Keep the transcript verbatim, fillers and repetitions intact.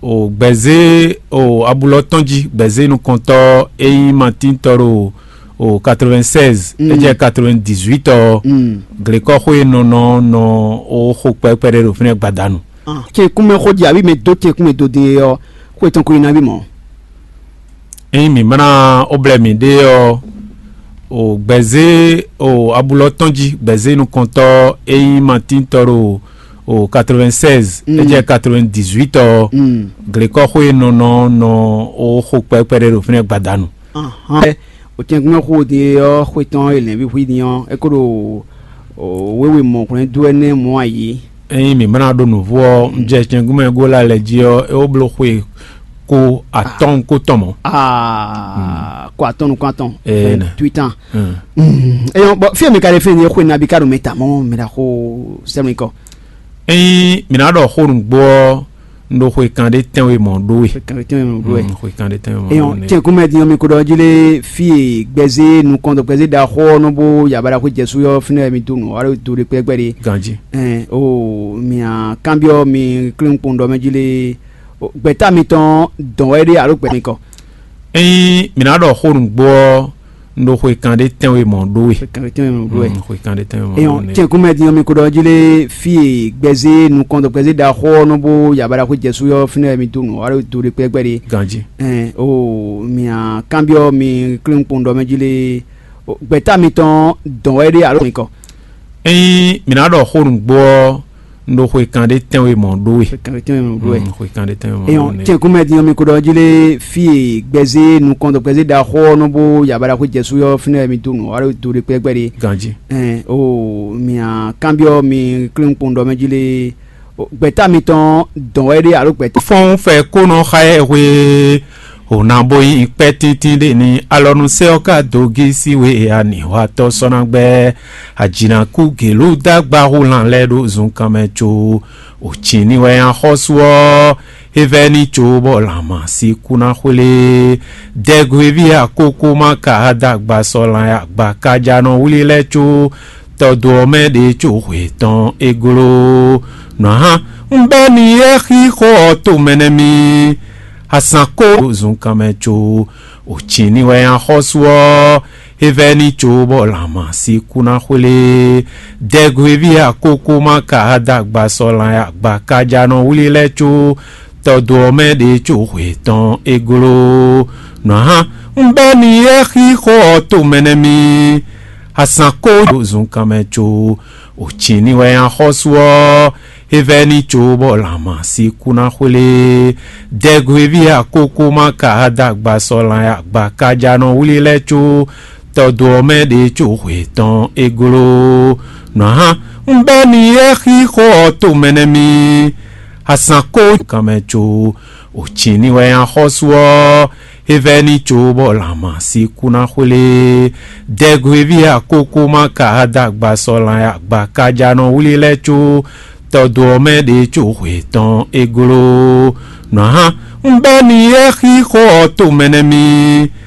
O gbɛzé o abulɔ tɔn jí, gbɛzé nukɔntɔ e nyí Matín tɔ ɖo o quatre-vingt-seize, é jɛ quatre-vingt-dix-huit ɔ, glekɔxwe nɔ nɔ nɔ o xo kpɛkpɛ ɖé ɖo fínɛ́ gbadanu. Tɛnkunmɛ xó jí abí mɛ dó tɛnkunmɛ dó din é ɔ́, xwe tɔn ko nyi nabí mɔ̌. Ényí mǐ má ná ó blɛ́ mǐɖée ɔ́, o gbɛzé o abulɔ tɔn jí, gbɛzé nukɔntɔ e nyí Matín tɔ ɖo o quatre-vingt-seize, é jɛ quatre-vingt-dix-huit ɔ, glekɔxwe nɔ nɔ nɔ o xo kpɛkpɛ ɖé ɖo fínɛ́ gbadanu. Ɔtɛnkunmɛ xo din ɔ́, xwe tɔn e lɛ̌nví hwí din ɔ́, é ko ɖo wěwe mɔ̌hwlɛ́ndú ɛnɛ mɔ̌ ayǐ. Ényí mǐ má ná ɖó nǔvú ɔ́, un jɛ cɛngúmɛ Gola lɛ́ɛ jí ɔ́, é wó bló xwe ko atɔ́ɔ́n kó tɔn mɔ̌. Aa, ko atɔ́ɔ́n nukún atɔn. Ee, nɛ. Tuitan. Eyɔn, bɔn fí e mi ka ɖe fí e nyɛ xwe nabí ka ɖo mɛ ta mɔ̌ mɛ ɖaxó sɛmlikɔ. Ényí mǐ ná ɖɔ xó nǔgbó ɔ́, un ɖo xwe kan ɖé tɛ́nwe mɔ̌ ɖó we. Xwe kan ɖé tɛ́nwe mɔ̌ ɖó we. Mm, xwe kan ɖé tɛ́nwe mɔ̌ Eyɔn, ɖó we. Tɛnkunmɛ din ɔ́, mi ko ɖɔ jí lé fí e gbɛzé nukɔn dɔ gbɛzé ɖaxó ɔ́ nɔ bó ya baɖaxó jɛ sú ɔ́, fínɛ́ wɛ mi dó nǔ, alo do ɖé kpɛ́ gbɛ́ ɖé. Ganjí. Ɛn o mi a kanbyɔ́ mi klínkpɔ́n ɖɔ mɛ jí lé gbɛ̌ta mitɔn dɔn wɛ ɖé alo gbɛ mi kɔ. Ényí mǐ ná ɖɔ xó nǔgbó ɔ́, un ɖo xwe kan ɖé tɛ́nwe mɔ̌ ɖó we. Xwe kan ɖé tɛ́nwe mɔ̌ ɖó we. Mm, xwe kan ɖé tɛ́nwe mɔ̌ Eyɔn, ɖó we. Tɛnkunmɛ din ɔ́, mi ko ɖɔ jí lé fí e gbɛzé nukɔn dɔ gbɛzé ɖaxó ɔ́ nɔ bó ya baɖaxó jɛ sú ɔ́, fínɛ́ wɛ mi dó nǔ, alo do ɖé kpɛ́ gbɛ́ ɖé. Ganjí. Ɛn o mi a kanbyɔ́ mi klínkpɔ́n ɖɔ mɛ jí lé gbɛ̌ta mitɔn dɔn wɛ ɖé alo mi kɔ. Ényí mǐ ná ɖɔ xó nǔgbó ɔ́, un ɖo xwe kan ɖé tɛ́nwe mɔ̌ ɖó we. Xwe kan ɖé tɛ́nwe mɔ̌ ɖó we. Mm, xwe kan ɖé tɛ́nwe mɔ̌ Eyɔn, ɖó we. Tɛnkunmɛ din ɔ́, mi ko ɖɔ jí lé fí e gbɛzé nukɔn dɔ gbɛzé ɖaxó ɔ́ nɔ bó ya baɖaxó jɛ sú ɔ́, fínɛ́ wɛ mi dó nǔ, alo do ɖé kpɛ́ gbɛ́ ɖé. Ganjí. Ɛn o mi a kanbyɔ́ mi klínkpɔ́n ɖɔ mɛ jí lé gbɛ̌ta mitɔn dɔn wɛ ɖé alo gbɛ̌ta. Fɔ́n fɛ kó nɔ xa ɛ hwe, o ná bó nyí kpɛ́ tíntín ɖé ní alɔnusɛ ɔ́ ka dó gí sí we e anǐhwatɔ́ sɔ́ ná gbɛ́. Ajǐnakú gělú dagba hú lan lɛ́ɛ ɖó zunkan mɛ có. O cǐní wɛ nyi axɔ́sú ɔ́, é vɛ́ ní có bɔ lanmǎ sí kú ná xwlé. Dɛgwéví akókó má ka dagba sɔ́ lan agba kájánɔ wlí lɛ́ɛ có. Tɔ́dó ɔ́ mɛ ɖě có hwe tɔn é gló. Nɔ̌ hán, un bɛ́ ni é xí xó ɔ́ to mɛ nɛ́ mì. Azǎn kó zunkan mɛ có. O cǐní wɛ nyi axɔ́sú ɔ́, é vɛ́ ní có bɔ lanmǎ sí kú ná xwlé. Dɛgwéví akókó má ka dagba sɔ́ lan agba kájánɔ wlí lɛ́ɛ có. Tɔ́dó ɔ́ mɛ ɖě có hwe tɔn é gló. Nɔ̌ hán, un bɛ́ ni é xí xó ɔ́ to mɛ nɛ́ mì. Azǎn kó zunkan mɛ có. O cǐní wɛ nyi axɔ́sú ɔ́, é vɛ́ ní có bɔ lanmǎ sí kú ná xwlé. Dɛgwéví akókó má ka dagba sɔ́ lan agba kájánɔ wlí lɛ́ɛ có. Tɔ́dó ɔ́ mɛ ɖě có hwe tɔn é gló. Nɔ̌ hán, un bɛ́ ni é xí xó ɔ́ to mɛ nɛ́ mì. Azǎn kó kan mɛ có. O cǐní wɛ nyi axɔ́sú ɔ́, é vɛ́ ní có bɔ lanmǎ sí kú ná xwlé. Dɛgwéví akókó má ka dagba sɔ́ lan agba kájánɔ wlí lɛ́ɛ có. Tɔ́dó ɔ́ mɛ ɖě có hwe tɔn é gló. Nɔ̌ hán, un bɛ́ ni é xí xó ɔ́ to mɛ nɛ́ mì.